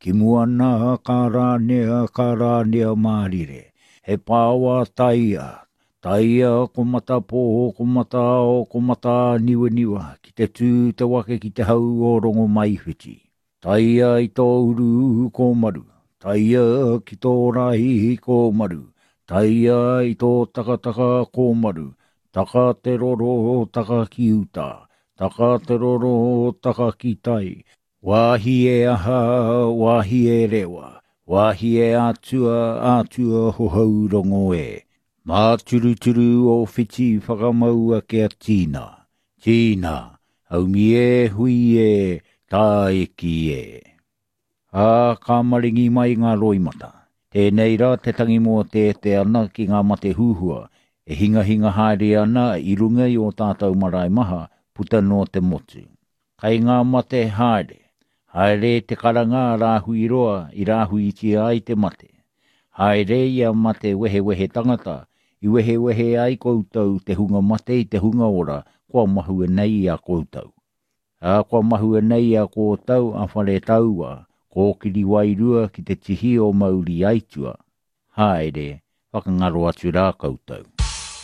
Ki mua nā ka rānea, ka rānea mārire. He pāoa taia, taia ko Matapō, ko Mataao, ko Mataaniwaniwa, ki te tū te wake ki te hau o Rongomaiwhiti. Taia i tō uru kōmaru, taia ki tō raihi kōmaru, taia i tō takataka kōmaru, taka te roro, taka ki uta, taka te roro, taka ki tai, Wāhi e aha, wāhi e rewa, wāhi e atua, atua hohou rongo e. Māturuturu o whiti whakamaua kia tīna, tīna, haumi e, hui e, tāiki e. Ā, ka maringi mai ngā roimata. Tēnei rā te tangi mōteete ana ki ngā mate huhua e hingahinga haere ana i runga i ō tātou marae maha puta noa te motu. Kai ngā mate haere. Haere te karanga a Rāhuiroa i rāhuitia ai te mate. Haere ia mate wehewehe tangata, i wehewehe ai koutou te hunga mate i te hunga ora kua mahue nei i a koutou. Ā, kua mahue nei i a koutou a Wharetaua, kōkiri wairua ki te tihi o Mauri Aitua. Haere, whakangaro atu rā koutou.